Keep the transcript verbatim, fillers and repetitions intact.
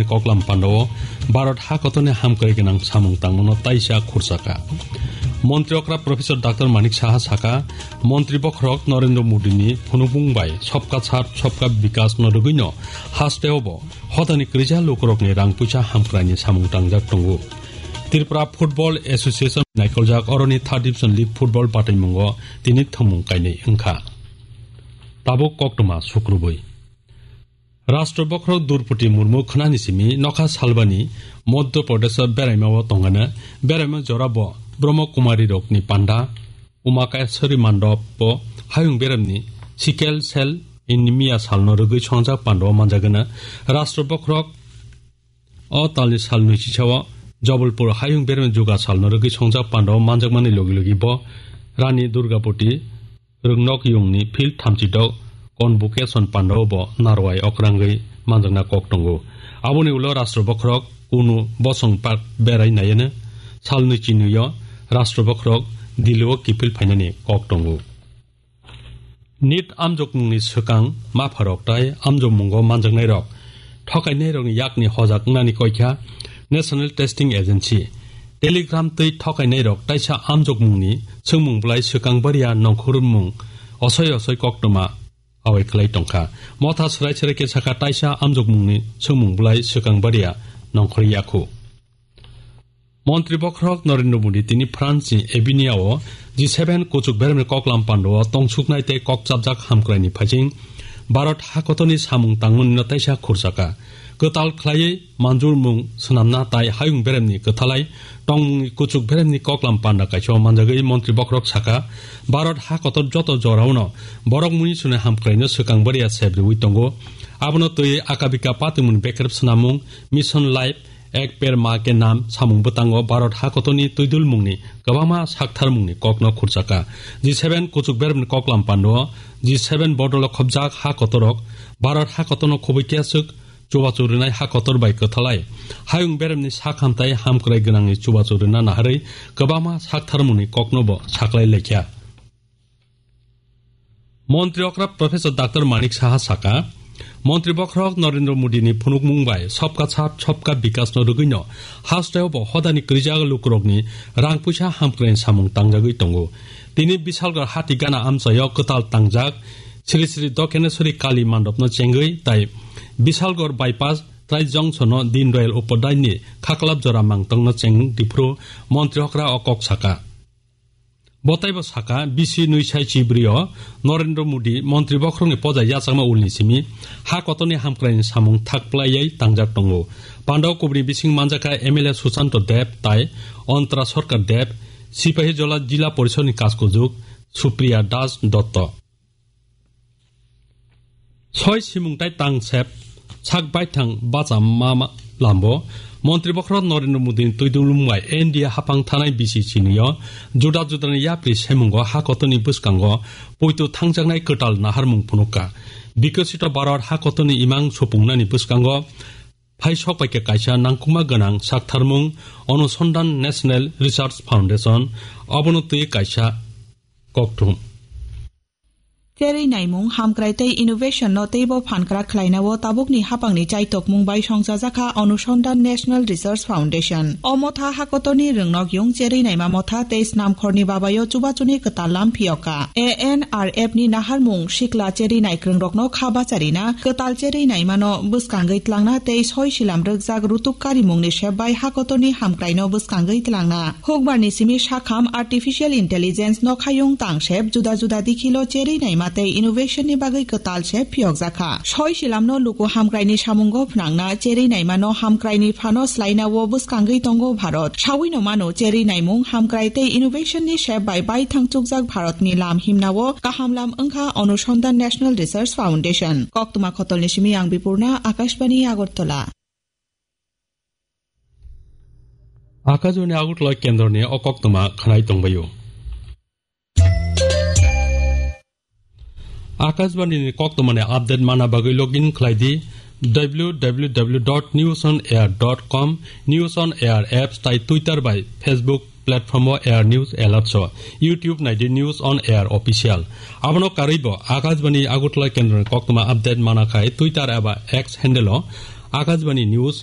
koklam pandao Bharat hakotorni hamkrai gwnang samung tangmano taisa khurchaka. Montri okra Professor Doctor Manik Saha saka, Montri bokhorok Narendra Modi ni phunukmung bai Sabka Saath Sabka Vikas no rwgwino haste obo hodani kwrwija lukurokni rang puisa hamkraini samung tangjak tongo. Tripura Football Association naikoljak oroni third division league football bataimungo tini thwngmung kainwi wngkha. Tabuk koktwma sukrubwi. Rashtra bokhorok Droupadi Murmu khwnani simi nokha salbani Madhya Pradesh o beraima o tongana beraima jora bo Brahma Kumari rokni panda Umakeswari Mandop o hayung beremni sickle cell anemia salno rwgwi songjak panda o manjagana. Rashtra bokhorok o talni sal nui chisao Jabalpur hayung beremni juga salno rwgwi songjak panda o manjakmani logi logi bo Rani Durgapati Rwngnok yungni field thamchi dok convocation pandao bo narwai okrangwi manjakna kok tongo. Aboni ulo Rashtra bokhorok kunu bosong park berai naiano salnwi chinwio Rashtra bokhorok Delhi o kiphil phainani kok tongo. NEET amjokmungni swkang mapharok tai amjokmungo manjaknairok thokainairokni yakni hojak wngnani koikha National Testing Agency. Telegram twi thokainairok taisa amjokmungni swngmung bwlai swkang bariya nongkhormung osoi osoi koktwma awai khlai tongkha. Motha swrai swrai khe sakha taisa amjokmungni swngmung bwlai swkang bariya nongkhor yakhu. Montri bokhorok Narendra Modi tini France ni Avignon o G seven kuchuk beremni koklam pandao tongsuknai tei kokchapjak hamkraini phaising Bharat hakotorni samung tangmani no taisa khurchaka. Kwtal khlaiwi manjurmung swnamna tai hayung beremni kwthalai tongmungni kuchuk beremni koklam panda kaisa manjagwi Montri bokhorok saka, Bharat hakotor joto jorao no borok muinsuni hamkraino swkang bariya sep riwi tongo. Abono twiwi akabika patimungni bekrep swnamung, Mission Life, Ek Ped Maa Ke Naam samung bwtango Bharat hakotorni twidulmungni kwbangma saktharmungni kokno khurchaka. G seven kuchuk beremni koklam pandao G seven bodolo khobjak hakotorok Bharat hakotorno khobwi kiaswk chubachu rwnai hakotor bai kwthalai hayung beremni sakhamtai hamkrai gwnangni chubachu rwna naharwi kwbangma saktharmungni kokno bo saklai laikha. Montri okra Professor Doctor Manik Saha saka, Montri bokhorok Narendra Modi ni phunukmung bai Sabka Saath Sabka Vikas no rwgwino hasteo bo hodani kwrwijak lukurokni rang puisa hamkrai samung tangjagwi tongo. Tini Bisalgor hati gana amchaio kwtal tangjak Sri Sri Dokeneswari Kali mandopno chengwi tai Bisalgor bypass trai jongsono Dindayal Upadhyay ni khaklap jora mangtongno cheng diphuru Montri okra o kok saka. Botaibo saka, bisi nui sai chibrio Narendra Modi montri bokhorokni poja yachakma ulni simi ha kotorni hamkraini samung thak plaiwi tangjak tongo. Pandao kubuni bising manjakha M L A Susanto Deb tai Antara Sarkar Deb, Sipahijola Jila Porishodni kaskujuk Supriya Das Dotto. Soi simung tai tang sep sak baithang bacha ma ma lambo. Montri bokhorok Narendra Modi ni twidulmung bai N D A hapang thanai bisi chinio juda juda ni yapri semungo ha kotorni bwskango poito thangjaknai kwtal naharmung phunukha. Bikosito Bharat ha kotorni imang supungnani bwskango phai sok bai khe kaisa nangkukma gwnang saktharmung Anusandhan National Research Foundation, obono twi kaisa kokthum. Cherwi naimung, hamkrai tei innovation no teibo phankrak khlainao tabukni hapangni chaitokmung bai songchajakha Anusandhan National Research Foundation. O motha hakotorni rwngnok yung cherwi naima motha tei snamkhorni babayo chubachuni kwtal lam phiyokha. A N R F ni naharmung sikla cherwi naikrwngrokno kha bacharina, kwtal cherwi naimano bwskangwi tlangna tei soi silam rwkjak rutuk karimungni sep bai hakotorni hamkraino bwskangwi tlangna. Hukbarni simi sakham artificial intelligence nokhayung tangsep juda juda dikhilo cherwi naima tei innovation ni bagwi kwtal sep phiyokjakha. Soi silamno luku hamkraini samungo phnangna cherwi naimano hamkraini phano slainao bwskangwi tongo Bharat. Sawino mano cherwi naimung hamkrai tei innovation ni sep bai baithang chukjak Bharatni lam himnao kaham lam wngkha Anusandhan National Research Foundation. Koktwma khotolni simi ang Bipurna, Akashbani Agartala. Akashbani Agartala kendroni o koktwma khwnai tongbaio. Akashbani ni koktwmani update mana bagwi login khlai di W W W dot news on air dot com, News on Air apps tai Twitter bai Facebook platform o Air News Alerts o, YouTube nai di News on Air Official. Abono karwi bo Akashbani Agartala kendroni koktwma update mana khai Twitter eba X handle o Akashbani News